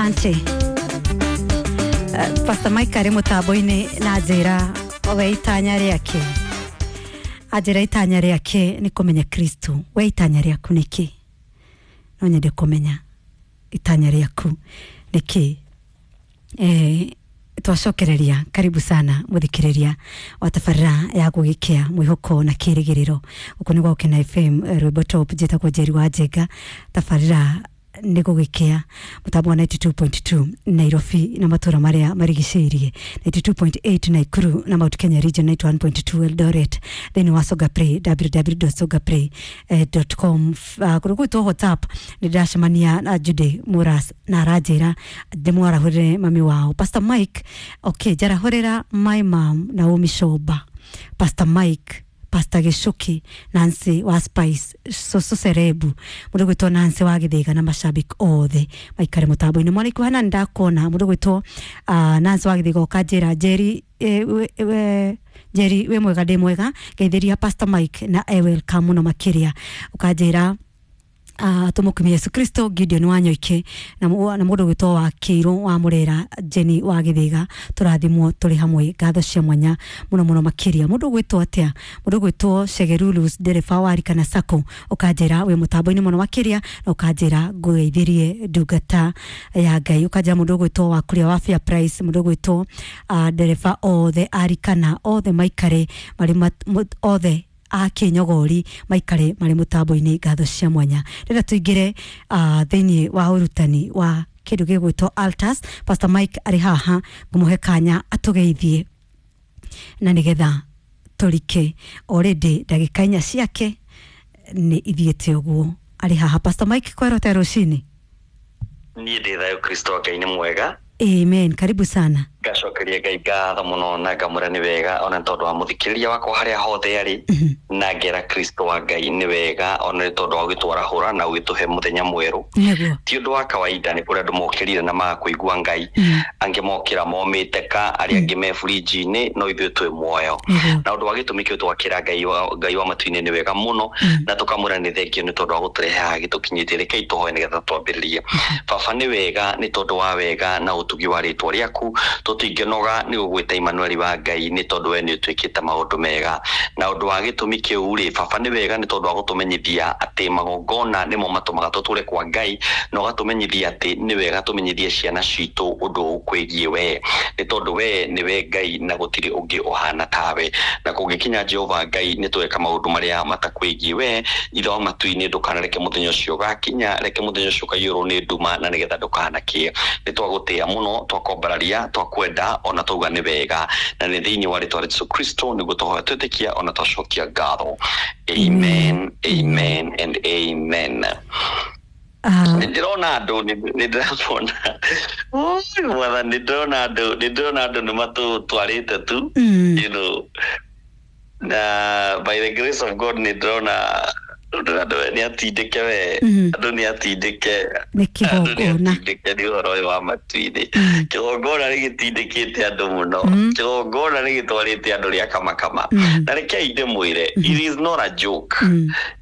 Asante. Pastor Mike arĩ mũtambo-inĩ na njĩra we itanya rĩake, anjĩra itanya rĩake nĩ kũmenya Kristo. We itanya rĩaku nĩ kĩ? No nyende kũmenya itanya rĩaku nĩ kĩ. Twacokereria, karibu sana muthikiriria wa tabarĩra ya gũgĩkĩa mwĩhoko na kĩrĩgĩrĩro. Gũkũ nĩ gwa Gũkena FM, rwĩmbo top. Njĩtagwo Njeri wa Njenga. Tabarĩra nĩ gũgĩkĩa, mũtambo wa 92.2 Nairobi na matũra marĩa marigicĩirie, 92.8 Nakuru na Mount Kenya region, 91.2 Eldoret, thĩinĩ wa Songa Play, www.songaplay.com. Kũrĩ gwĩtwo WhatsApp nĩ ndĩracemania na Jude Muras na aranjĩra ndĩmwarahũrĩre mami wao Pastor Mike. Okay, njarahũrĩra my mom Naomi Shoba, Pastor Mike, Pastor Gicuki, Nancy wa Spice, Soso Serebu, mũndũ gwĩtwo Nancy wa Gĩthĩga na macambĩki othe maikare mũtambo-inĩ. Mwana ikuhana nĩ ndakuona mũndũ gwĩtwo Nancy wa Gĩthĩga, ũkanjĩra Njeri, Njeri wĩ mwega? Ndĩ mwega. Ngeithĩria Pastor Mike na e welcome mũno makĩria. Ũkanjĩra tumukumia Yesu Kristo, Gideon wa Nyoike na mũndũ gwĩtwo wa Kĩirũ wa Mũrera, Jenny wa Gĩthĩga, tũrathimwo tũrĩ hamwe. Ngatho cia mwanya mũno mũno makĩria. Mũndũ gwĩtwo atĩa? Mũndũ gwĩtwo Shegerulus, ndereba wa Rikana Sacco, ũkanjĩra wĩ mũtambo-inĩ mũno makĩria na ũkanjĩra ngũgeithirie ndungata ya Ngai. Ũkanjĩra mũndũ gwĩtwo wa kũrĩa wa Fair Price, mũndũ gwĩtwo ndereba othe arikana othe maikare marĩ othe a kĩnyogori maikare marĩ mũtambo-inĩ. Ngatho cia mwanya. Rĩrĩa tũingĩre thĩinĩ wa ũrutani wa kĩndũ gĩgwĩtwo altars, Pastor Mike arĩ haha, ngũmũhe kanya atũgeithie na nĩgetha tũrike. Already ndagĩka 4 ciake nĩ ithiĩte ũguo. Arĩ haha Pastor Mike, kwerota rũcinĩ. Niĩ ndĩ thayũ, Kristo Ngai nĩ mwega. Amen, karibu sana. Ngacokeria Ngai ngatho mũno na ngamwĩra nĩ wega ona nĩ tondũ wa mũthikĩrĩria wakwa harĩa hothe arĩ, na ngera Kristo wa Ngai nĩ wega ona nĩ tondũ wa gũgĩtwarahũra na gũgĩtũhe mũthenya mwerũ. Ti ũndũ wa kawaida, nĩ kũrĩ andũ mokĩrire na maga kũigua Ngai, angĩ mokĩra momĩte ka, arĩa angĩ me burinji-inĩ, no ithuĩ twĩ muoyo. Na ũndũ wa gĩtũmi kĩu twakĩra Ngai wa matu-inĩ nĩ wega mũno na tũkamwĩra nĩ thengio nĩ tondũ wa gũtũrehe haha gĩtũkinyĩtie. Rekei tũhoe nĩgetha twambĩrĩrie. Baba, nĩ wega nĩ tondũ wa wega na ũtugi wa rĩtwa rĩaku, tũtingĩnoga nĩ gũgwĩta Emmanuel wa Ngai, nĩ tondũ we nĩ ũtwĩkĩte maũndũ mega. Na ũndũ wa gĩtũmi kĩu rĩ, baba, nĩ wega nĩ tondũ wa gũtũmenyithia atĩ magongona nĩmo matũmaga tũtũre kwa Ngai, na ũgatũmenyithia atĩ nĩ wega tũmenyithie ciana citũ ũndũ ũkwĩgiĩ we, nĩ tondũ we nĩwe Ngai na gũtirĩ ũngĩ ũhana tawe. Na kũngĩkinya Jehova Ngai nĩ tweka maũndũ marĩa matakwĩgiĩ we, Ithe wa matu-inĩ, ndũkanareke mũthenya ũcio ũgakinya, reke mũthenya ũcio ũkaiyũrwo nĩ nduma na nĩgetha ndũkanakie. Nĩ twagũtĩĩa mũno, twakwambararia, twakwenda ona twauga nĩ wega, na nĩ thĩinĩ wa rĩtwa rĩa Jesu Kristo nĩguo tũhoya, twĩtĩkia ona twacokia ngatho. Amen, amen and amen. Nĩ ndĩrona andũ, nĩ ndĩramona. Oi, Mwathani, nĩ ndĩrona andũ, nĩ ndĩrona andũ nĩ matũtwarĩte tu. Na by the grace of God nĩ ndĩrona andũ nĩ atindĩke we. Andũ nĩ atindĩke. Nĩ Andũ nĩ kĩgongona. atindĩke nĩ ũhoro ũyũ wa matu-inĩ. Kĩgongona nĩ gĩtindĩkĩte andũ mũno. Kĩgongona nĩ gĩtwarĩte andũ rĩa kamakama. Na rekei ndĩmwĩre, it is not a joke.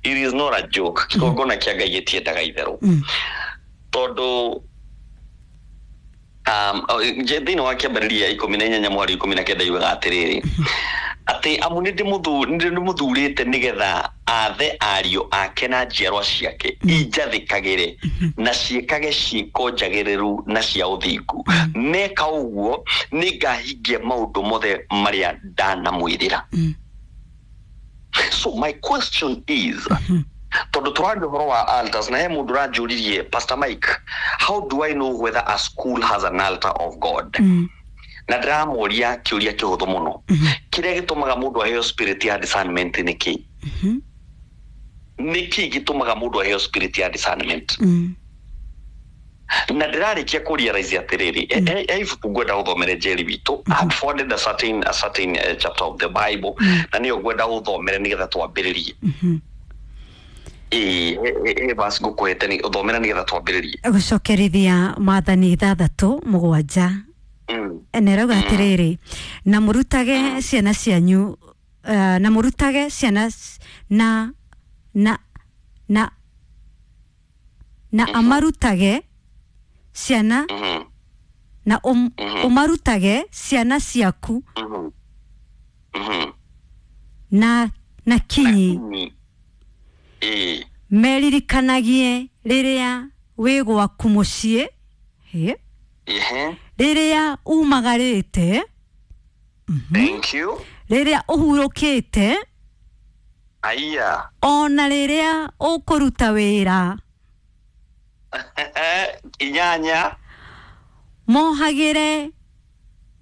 It is not a joke. Kĩgongona kĩa Ngai gĩtiendaga itherũ, tondũ thĩinĩ wa Kĩambĩrĩria 18 mweri 19 yugaga atĩrĩrĩ, atĩ amu nĩ ndĩmũthurĩte nĩgetha athe ariũ ake na njiarwa ciake injathĩkagĩre na ciĩkage ciĩko njagĩrĩru na cia ũthingu. Meka ũguo nĩngahingia maũndũ mothe marĩa ndanamwĩrĩra. So my question is, tondũ tũraria ũhoro wa altars na he mũndũ ũranjũririe, "Pastor Mike, how do I know whether a school has an altar of God?" Na ndĩramũria kĩũria kĩhũthũ mũno. Kĩrĩa gĩtũmaga mũndũ aheo spirit ya discernment nĩ kĩ? Nĩ kĩ gĩtũmaga mũndũ aheo spirit ya discernment? Na ndĩrarĩkia kũ realize atĩrĩrĩ, he ibuku ngwenda gũthomere Njeri witũ. I have forwarded a certain chapter of the Bible na nĩyo ngwenda gũthomere nĩgetha twambĩrĩrie. Ĩĩ, he verse ngũkũhete nĩ ũthomere nĩgetha twambĩrĩrie. Gũcokerithia Maathani 6:7. Na ĩrauga atĩrĩrĩ, na mũrutage ciana cianyu, na mũrutage ciana na amarutage Ciana na ũmarutage ciana ciaku na kinyi meririkanagie rĩrĩa wĩ gwaku mũciĩ, rĩrĩa umagarĩte, thank you, rĩrĩa ũhurũkĩte, aya, ona rĩrĩa ũkũruta wĩra. Inyanya. Mohagĩre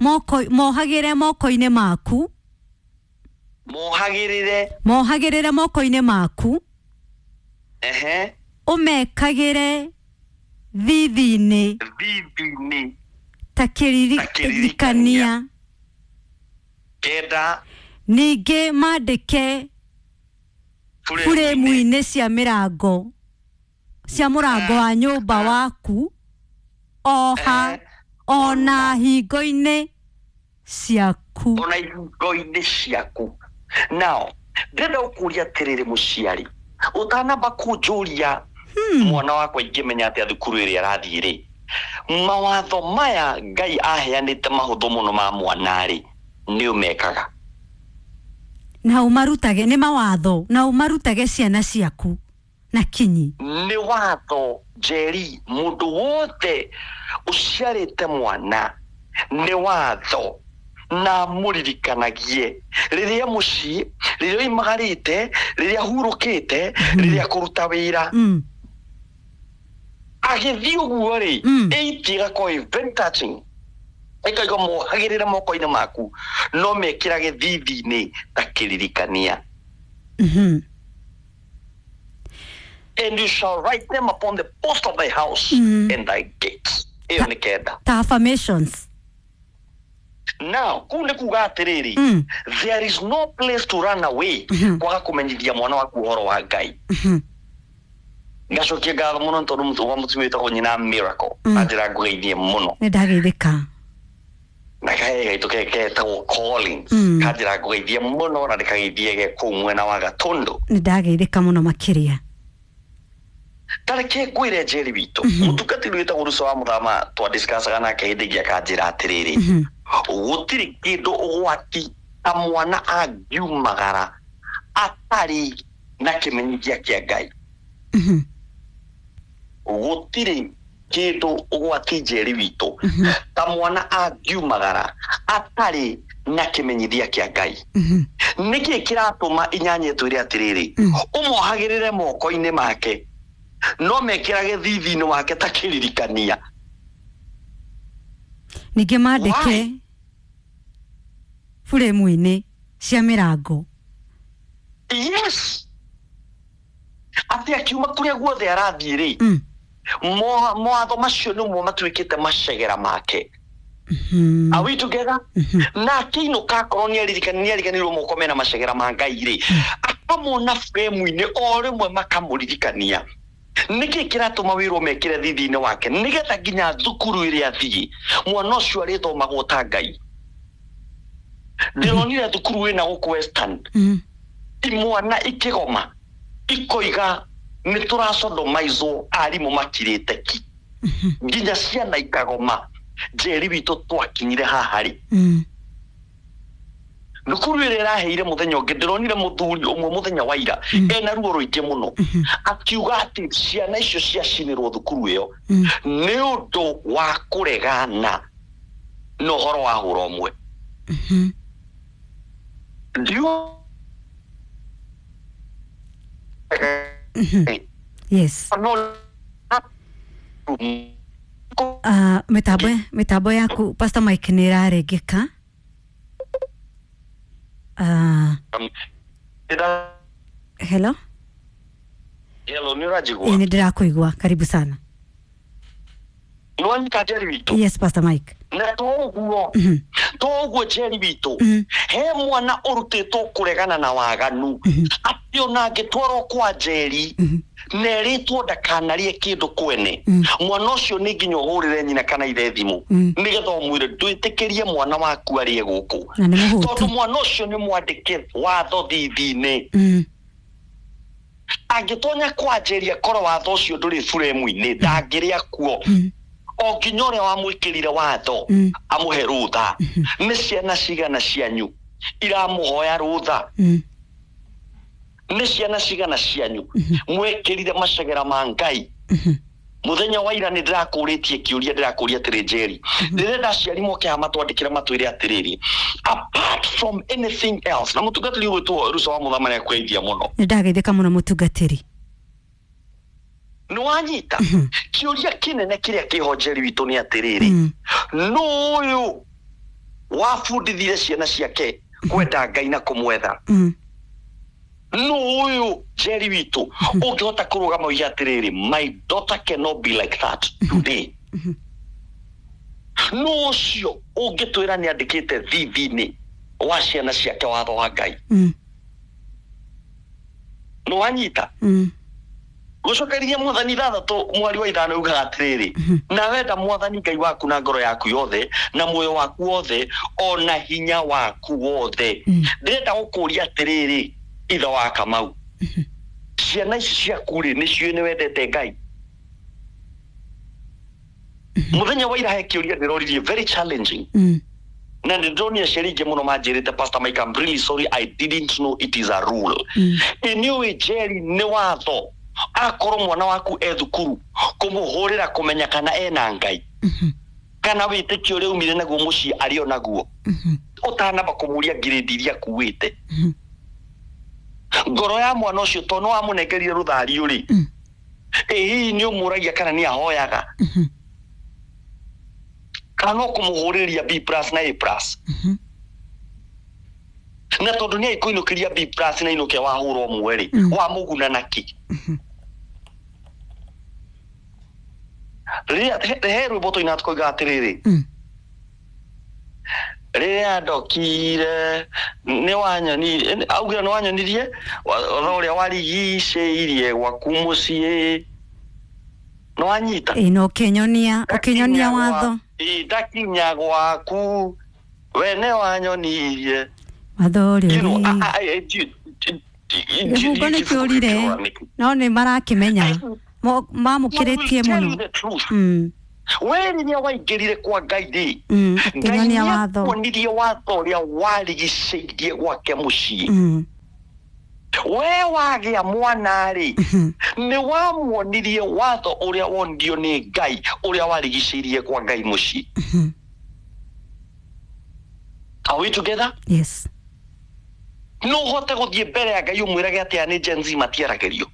moko-inĩ maku, mohagĩrĩre moko-inĩ maku, ũmekagĩre thithi-inĩ ta kĩririkania. Kenda. Ningĩ mandĩke buremu-inĩ cia mĩrango, cia mũrango wa nyũmba waku, oha ona hingo-inĩ ciaku. Ona hingo-inĩ ciaku. Now, ndĩrenda gũkũria atĩrĩrĩ mũciari, ũtanamba kũnjũria mwana wakwa ingĩmenya atĩa thukuru ĩrĩa arathiĩ rĩ, mawatho maya Ngai aheanĩte mahũthũ mũno ma mwana rĩ, nĩ ũmekaga? Na ũmarutage, nĩ mawatho, na ũmarutage ciana ciaku na kinyi. Nĩ watho Njeri, mũndũ wothe ũciarĩte mwana nĩ watho na mũririkanagie rĩrĩa mũciĩ, rĩrĩa oimagarĩte, rĩrĩa ahurũkĩte, rĩrĩa kũruta wĩra. Agĩthiĩ ũguo rĩ, eight ĩgakorwo ĩ very touching, ĩkauga mohagĩrĩre moko-inĩ maku no mekĩrage thithi-inĩ ta kĩririkania. And you shall write them upon the post of thy house and thy gates. Ĩyo nĩ kenda. Ta affirmations. Now, kũu nĩ kuga atĩrĩrĩ, there is no place to run away kwaga kũmenyithia mwana waku ũhoro wa Ngai. Ngacokia ngatho mũno nĩ tondũ wa mũtumia wĩtagwo nyina Miracle anjĩra ngũgeithie mũno. Nĩ ndageithĩka. Na kahe gaitũ ketagwo Collins kanjĩra ngũgeithie mũno na ndĩkageithie ge kũu mwena wa Gatũndũ. Nĩ ndageithĩka mũno makĩria. Tareke ngwĩre Njeri witũ, mũtungatĩri wĩtagwo Ruco wa Mũthama twadiscussaga nake hĩndĩ ĩngĩ akanjĩra atĩrĩrĩ, gũtirĩ kĩndũ ũgwati ta mwana angiumagara atarĩ na kĩmenyithia kĩa Ngai. Gũtirĩ kĩndũ ũgwati Njeri witũ ta mwana angiumagara atarĩ na kĩmenyithia kĩa Ngai. Nĩkĩ kĩratũma inyanya ĩtwĩre atĩrĩrĩ, ũmohagĩrĩre moko-inĩ make no mekĩrage thithi-inĩ wake ta kĩririkania. Ningĩ mandĩke buremu-inĩ cia mĩrango. Yes, atĩ akiuma kũrĩa guothe arathiĩ rĩ, mawatho macio nĩmo matuĩkĩte macegera make. Are we together? Na akĩinũka akorwo nĩariganĩirwo moko mena macegera ma Ngai rĩ, akamona buremu-inĩ o rĩmwe makamũririkania. Nĩkĩ kĩratũma wĩrwo mekĩre thithi-inĩ wake nĩgetha nginya thukuru ĩrĩa athiĩ mwana ũcio arĩthomagwo ta Ngai. Ndĩronire thukuru ĩna gũkũ Western, imwana ikĩgoma ikoiga nĩ tũracodomaizwo, arimũ makirĩte ki, nginya ciana ikagoma. Njeri witũ twakinyire haha rĩ, thukuru ĩrĩa ĩraheire mũthenya ũngĩ ndĩronire mũthuri ũmwe mũthenya wa ira ena ruo rũingĩ mũno akiuga atĩ ciana icio ciacinĩrwo thukuru ĩyo nĩ ũndũ wa kũregana na ũhoro wa hũra ũmwe. Yes. Mitambo yaku Pastor Mike nĩ ĩrarengeka. Hello? Hello, nĩ ũranjigua? Nĩ ndĩrakũigua, karibu sana. Nĩ wanyita Njeri witũ? Yes, Pastor Mike. Na toguo Njeri witũ, he mwana ũrutĩtwo kũregana na waganu, atĩ ona angĩtwarwo kwa Njeri na erĩtwo ndakanarie kĩndũ kwene, mwana ũcio nĩ nginya ũhũrĩre nyina kana ithe thimũ nĩgetha ũmwĩre ndwĩtĩkĩrie mwana waku arĩe gũkũ, tondũ mwana ũcio nĩ mwandĩke watho thithi-inĩ. Angĩtonya kwa Njeri akorwo watho ũcio ndũrĩ buremu-inĩ, ndangĩrĩa kuo. O nginya ũrĩa wamwĩkĩrire watho amũhe rũtha. Nĩ ciana cigana cianyu iramũhoya rũtha? Nĩ ciana cigana cianyu mwekĩrire macegera ma Ngai? Muthenya wa ira nĩ ndĩrakũrĩtie kĩũria, ndĩrakũria atĩrĩ, Njeri, ndĩrenda aciari moke haha matwandĩkĩre matwĩre atĩrĩrĩ, apart from anything else, na mũtungatĩri ũgwĩtwo Ruca wa Mũthama nĩ akũgeithia mũno. Nĩ ndageithĩka mũno, mũtungatĩri. Nĩ wanyita? Kĩũria kĩnene kĩrĩa kĩho, Njeri witũ, nĩ atĩrĩrĩ, nũ ũyũ wabundithire ciana ciake kwenda Ngai na kũmwetha? Nũ ũyũ, Njeri witũ, ũngĩhota kũrũgama uige atĩrĩrĩ, "My daughter cannot be like that today"? Nũ ũcio ũngĩtwĩra nĩ andĩkĩte thithi-inĩ wa ciana ciake watho wa Ngai? Nĩ wanyita? Gũcokeria Mwathani 6 mweri wa 5 ugaga atĩrĩrĩ, na wenda Mwathani Ngai waku na ngoro yaku yothe na muoyo waku wothe ona hinya waku wothe. Ndĩrenda gũkũria atĩrĩrĩ, ithe wa Kamau, ciana ici ciaku rĩ, nĩ ciũĩ nĩ wendete Ngai? Mũthenya wa ira he kĩũria ndĩroririe, very challenging, na nĩ ndĩronire aciari aingĩ mũno manjĩrĩte, "Pastor Mike, I'm really sorry, I didn't know it is a rule." Ĩ nĩ ũĩ, Jerry, nĩ watho akorwo mwana waku e thukuru kũmũhũrĩra kũmenya kana ena Ngai, kana wĩtĩkio ũrĩa umire naguo mũciĩ arĩ o naguo, ũtanamba kũmũria ngirĩndi iria akuĩte? Ngoro ya mwana ũcio, to nĩ wamũnengerire rũthario rĩ, ĩ hihi nĩ ũmũragia kana nĩ ahoyaga, kana no kũmũhũrĩria B plus na A plus? Na tondũ nĩ aikũinũkĩria B plus na inũke wahũra ũmwe rĩ, wamũguna nakĩ? Rĩrĩa he rwĩmbo tũina tũkoiga atĩrĩrĩ, rĩrĩa ndokire nĩ wanyonirie, augire nĩ wanyonirie watho ũrĩa warigicĩirie gwaku mũciĩ. Nĩ wanyita? Ĩ, na ũkĩnyonia watho. Ĩ, ndakinya gwaku we nĩ wanyonirie watho ũrĩa You know, ũrĩ kĩbungo nĩ kĩũrire, no nĩ marakĩmenya. Mamũkĩrĩtie mũno. The truth, we rĩrĩa waingĩrire kwa Ngai rĩ, Ngai ũkĩnyonia watho. Nĩakuonirie watho ũrĩa warigicĩirie gwake mũciĩ. We wagĩa mwana rĩ, nĩ wamuonirie watho ũrĩa wonirio nĩ Ngai ũrĩa warigicĩirie kwa Ngai mũciĩ? Are we together? Yes. No ũhote gũthiĩ mbere ya Ngai ũmwĩrage atĩ aya nĩ Gen Z matiaragĩrio?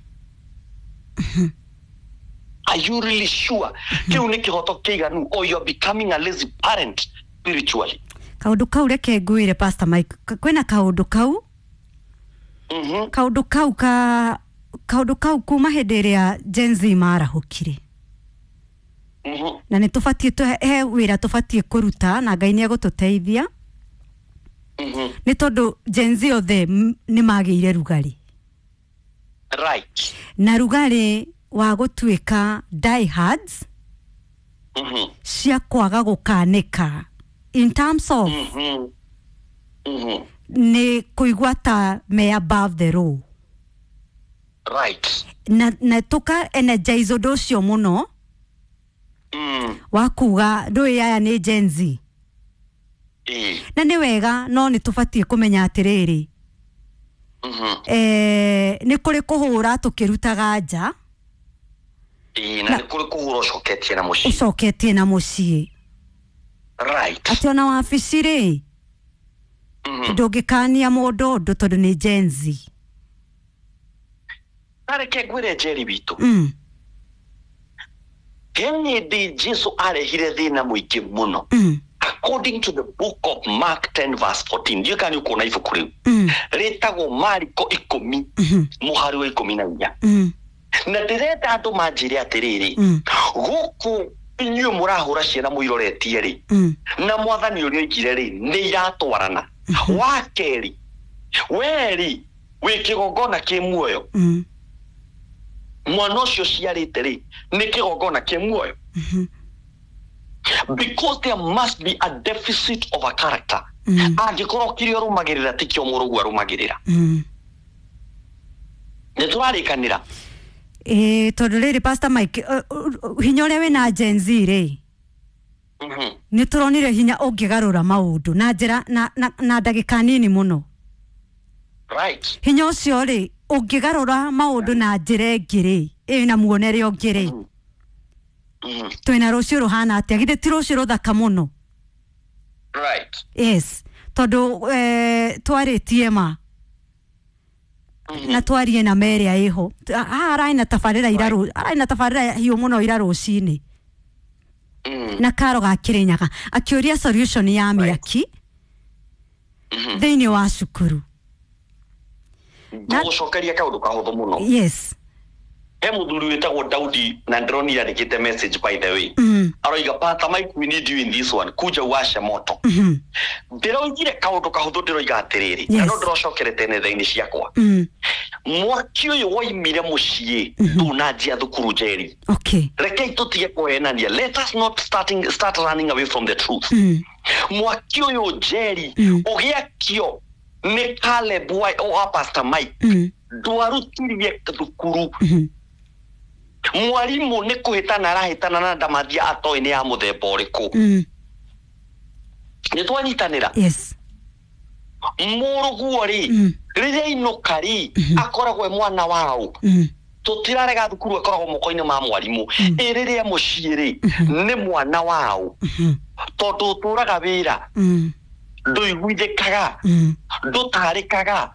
Are you really sure kĩu nĩ kĩhoto kĩiganu, or you are becoming a lazy parent spiritually? Kaũndũ kau, reke ngwĩre, Pastor Mike, kwĩna kaũndũ kau. Kaũndũ kau kuma hĩndĩ ĩrĩa Gen Z marahũkire, na nĩ tũbatiĩ he wĩra tũbatiĩ kũruta, na Ngai nĩ egũtũteithia, nĩ tondũ Gen Z othe nĩ magĩire rugarĩ, na rugarĩ wa gũtuĩka diehards cia kwaga gũkanĩka in terms of nĩ kũigua ta me above the law, na tũka energize ũndũ ũcio mũno wa kuga ndũĩ aya nĩ Gen Z. Na nĩ wega, no nĩ tũbatiĩ kũmenya atĩrĩrĩ, nĩ kũrĩ kũhũra tũkĩrutaga nja. Ĩ, na nĩ kũrĩ kũhũra ũcoketie na mũciĩ. Ũcoketie na mũciĩ. Atĩ ona wabici rĩ, ndũngĩkania mũndũ ũndũ tondũ nĩ Gen Z. Na reke ngwĩre, Njeri witũ, he hĩndĩ Jesu arehire thĩna mũingĩ mũno. According to the book of Mark 10 verse 14, ndiũĩ kana nĩ ũkuona ibuku rĩu rĩtagwo Mariko 10 mũhari wa 14. Na ndĩrenda andũ manjĩre atĩrĩrĩ, gũkũ inyuĩ mũrahũra ciana mũiroretie rĩ, na Mwathani ũrĩa oigire rĩ, nĩ iratwarana? Wa kerĩ, we rĩ, wĩ kĩgongona kĩ muoyo? Mwana ũcio ciarĩte rĩ, nĩ kĩgongona kĩ muoyo? Because there must be a deficit of a character angĩkorwo kĩrĩa ũrũmagĩrĩra tikĩo mũrũguo arũmagĩrĩra. Nĩ tũrarĩkanĩra? Ĩ, tondũ rĩrĩ, Pastor Mike, hinya ũrĩa wĩna Gen Z rĩ, Nĩ tũronire hinya ũngĩgarũra maũndũ na njĩra na ndagĩka nini mũno. Right. Hinya ũcio rĩ ũngĩgarũra maũndũ na njĩra ĩngĩ rĩ, ĩna muonere ũngĩ rĩ, twĩna rũciũ rũhana atĩa? Githĩ ti rũciũ rũthaka mũno? Right. Yes, tondũ twarĩtie ma na twarie na merĩa ĩho. Haha ararĩ na tabarĩra ira, ararĩ na tabarĩra hiũ mũno ira rũcinĩ na karo ga Kĩrĩnyaga akĩũria solution ya mĩaki thĩinĩ wa cukuru. Ngũgũcokeria kaũndũ kahũthũ mũno. Yes. He mũthuri wĩtagwo Daudi na ndĩronire andĩkĩte message, by the way. Aroiga, "Pastor Mike, we need you in this one, kuja uwashe moto." Ndĩroigire kaũndũ kahũthũ, ndĩroiga atĩrĩrĩ, na no ndĩrocokerete nenda-inĩ ciakwa. Mwaki ũyũ woimire mũciĩ, ndunanjia thukuru, Njeri. Rekei tũtige kũhenania. Let us not start running away from the truth. Mwaki ũyũ, Njeri, ũgĩakio nĩ Caleb wa Pastor Mike, ndwarutirie thukuru. Mwarimũ nĩ kũhĩtana arahĩtana na ndamathia atoĩ nĩ ya mũthemba ũrĩkũ. Nĩ twanyitanĩra? Yes. Mũrũguo rĩ, rĩrĩa ainũka rĩ, akoragwo e mwana waũ? Tũtirarega thukuru akoragwo moko-inĩ ma mwarimũ. Ĩ rĩrĩa mũciĩ rĩ, nĩ mwana waũ? Tondũ ũtũraga wĩra, ndũiguithĩkaga, ndũtarĩkaga.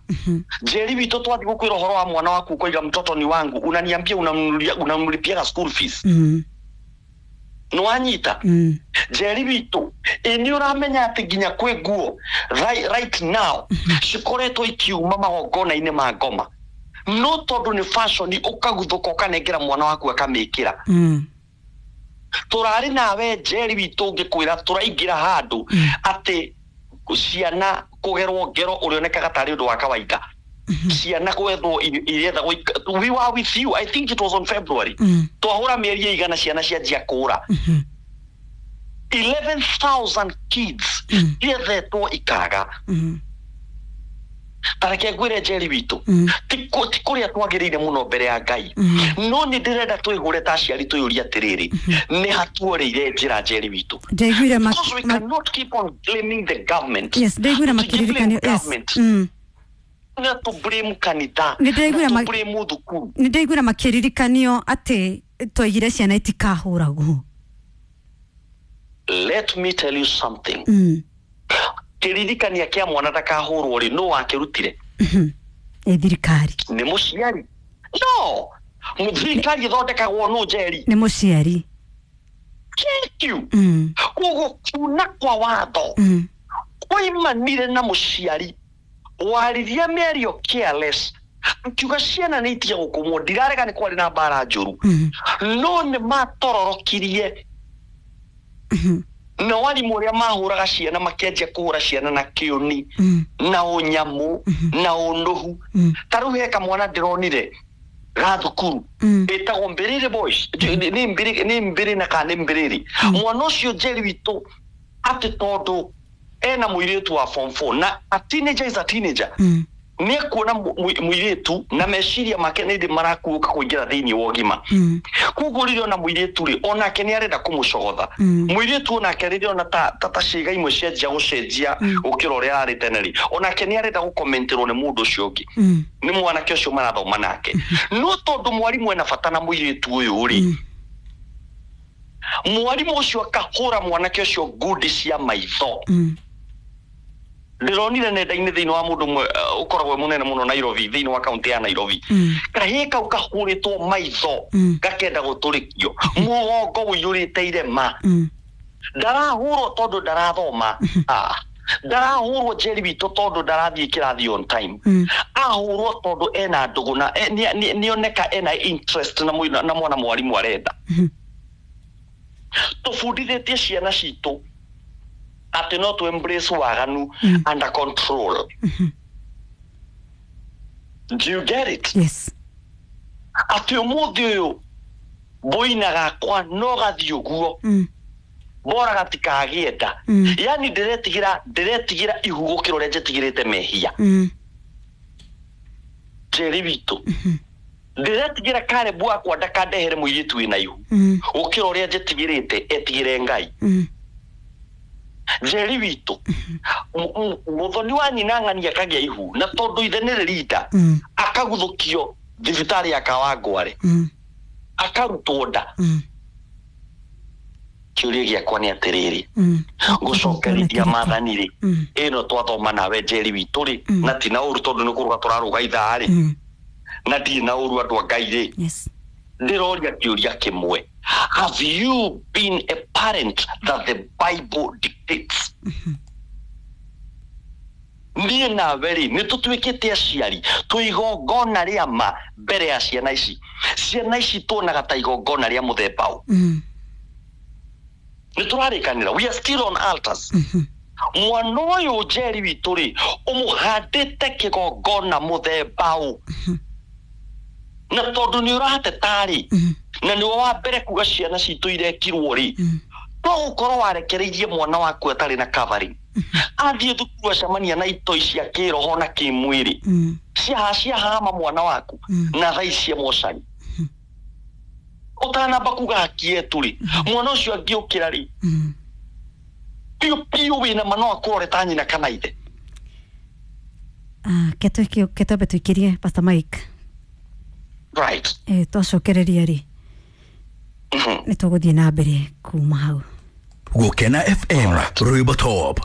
Njeri witũ, twathiĩ gũkwĩra ũhoro wa mwana waku, ũkoiga, "Mtoto ni wangu, unaniambia unamlipiaga school fees?" Nĩwanyita? Njeri witũ, ĩ nĩ ũramenya atĩ nginya kwĩ nguo right now cikoretwo ikiuma magongona-inĩ ma ngoma, no tondũ nĩ fashion ũkaguthũka ũkanengera mwana waku akamĩkĩra? Tũrarĩ nawe, Njeri witũ, ngĩkwĩra tũraingĩra handũ atĩ ciana kũgerwo ngero ũrĩonekaga tarĩ ũndũ wa kawaida, ciana gwethwo irethagwo. We were with you, I think it was on February. Twahũra mĩeri ĩigana ciana cianjia kũra. 11,000 kids ciethetwo ikaga. Ta reke ngwĩre, Njeri witũ, ti kũrĩa twagĩrĩire mũno mbere ya Ngai, no nĩ ndĩrenda twĩhũre ta aciari, twĩyũrie atĩrĩrĩ, nĩ hatuorĩire njĩra, Njeri witũ? Ndaiguire Because we cannot keep on blaming the government. Yes, ndaiguire Tũtingĩ blame makĩririkanio, yes. government. Na tũ blame kanitha, Nĩ ndaiguire na tũ blame thukuru. Nĩ ndaiguire makĩririkanio atĩ twaigire ciana itikahũragwo. Let me tell you something. Kĩririkania kĩa mwana ndakahũrwo rĩ, nũ wakĩrutire? Nĩ thirikari. Nĩ mũciari? No thirikari ĩthondekagwo nũ, Njeri? Nĩ mũciari. Thank you. Koguo kuna kwa watho kwaimanire na mũciari waririe mĩario careless, akiuga ciana nĩ itige gũkũmwo. Ndirarega nĩ kwarĩ na mbara njũru, no nĩ matororokirie na warimũ ũrĩa mahũraga ciana, makĩanjia kũhũra ciana na kĩũni na ũnyamũ na ũnũhu. Ta rĩu he kamwana ndĩronire ga thukuru ĩtagwo Mbĩrĩrĩ Boys, nĩ Mbĩrĩ, nĩ Mbĩrĩ na kana nĩ Mbĩrĩrĩ. Mwana ũcio, Njeri witũ, atĩ tondũ ena mũirĩtu wa form 4, na a teenager is a teenager, nĩ ekuona mũirĩtu na meciria make nĩ ndĩ marakuũka kũingĩra thĩinĩ wa ũgima. Koguo rĩrĩa ona mũirĩtu rĩ, onake nĩ arenda kũmũcogotha. Mũirĩtu onake rĩrĩa ona ta ciĩga imwe cianjia gũcenjia gũkĩra ũrĩa ararĩ tene rĩ, onake nĩ arenda gũkomenterwo nĩ mũndũ ũcio ũngĩ, nĩ mwanake ũcio marathoma nake. No tondũ mwarimũ ena bata na mũirĩtu ũyũ rĩ, mwarimũ ũcio akahũra mwanake ũcio ngundi cia maitho. Ndĩronire nenda-inĩ thĩinĩ wa mũndũ ũmwe ũkoragwo e mũnene mũno Nairobi, thĩinĩ wa kaunti ya Nairobi. Kahĩĩ kau kahũrĩtwo maitho gakenda gũtũrĩkio, mũgongo ũiyũrĩte irema. Ndarahũrwo tondũ ndarathoma. Ah, ndarahũrwo, Njeri witũ, tondũ ndarathiĩ kĩrathi on time. Ahũrwo tondũ ena ndũgũ na nĩoneka ena interest na mwana mwarimũ arenda. Tũbundithĩtie ciana citũ atĩ no tũ embrace waganu under control. Do you get it? Yes. Atĩ ũmũthĩ ũyũ boina gakwa no gathiĩ ũguo, bora gatikagĩe nda. Yani ndĩretigĩra ihu gũkĩra ũrĩa njetigĩrĩte mehia. Njeri witũ, ndĩretigĩra Karebu wakwa ndakandehere mũirĩtu wĩna ihu gũkĩra ũrĩa njetigĩrĩte etigĩre Ngai. Njeri witũ, mũthoni wa nyina ng'ani akagĩa ihu, na tondũ ithe nĩ rĩrinda, akaguthũkio thibitarĩ ya Kawangware, akarutwo nda. Kĩũria gĩakwa nĩ atĩrĩrĩ, gũcokerithia maathani rĩ, ĩno twathoma nawe Njeri witũ rĩ, na ti na ũru tondũ nĩ kũrũga tũrarũga ithaa rĩ, na ndirĩ na ũru andũ a Ngai rĩ, ndĩroria kĩũria kĩmwe: have you been a parent that the Bible dictates? Niĩ nawe rĩ, nĩ tũtuĩkĩte aciari twĩ igongona rĩa ma mbere ya ciana ici? Ciana ici tuonaga ta igongona rĩa mũthemba ũ? Nĩ tũrarĩkanĩra, we are still on altars. Mwana ũyũ Njeri witũ rĩ, ũmũhandĩte kĩgongona mũthemba ũ? Na tondũ nĩ ũrateta rĩ, na nĩwe wa mbere kuga ciana citũ irekirwo rĩ, no ũkorwo warekereirie mwana waku atarĩ na covering, athiĩ thukuru acemania na itoi cia kĩroho na kĩmwĩrĩ, ciahama mwana waku na thaa ici mocari. Ũtanamba kuga haki yetu rĩ, mwana ũcio angĩũkĩra rĩ, piũ piũ wĩna ma no akũrore ta nyina kana ithe. Ke twambe tũikĩrie, Pastor Mike. Right. Twacokereria rĩ, nĩ tũgũthiĩ na mbere kuma hau. Gukena FM, rwimbo top.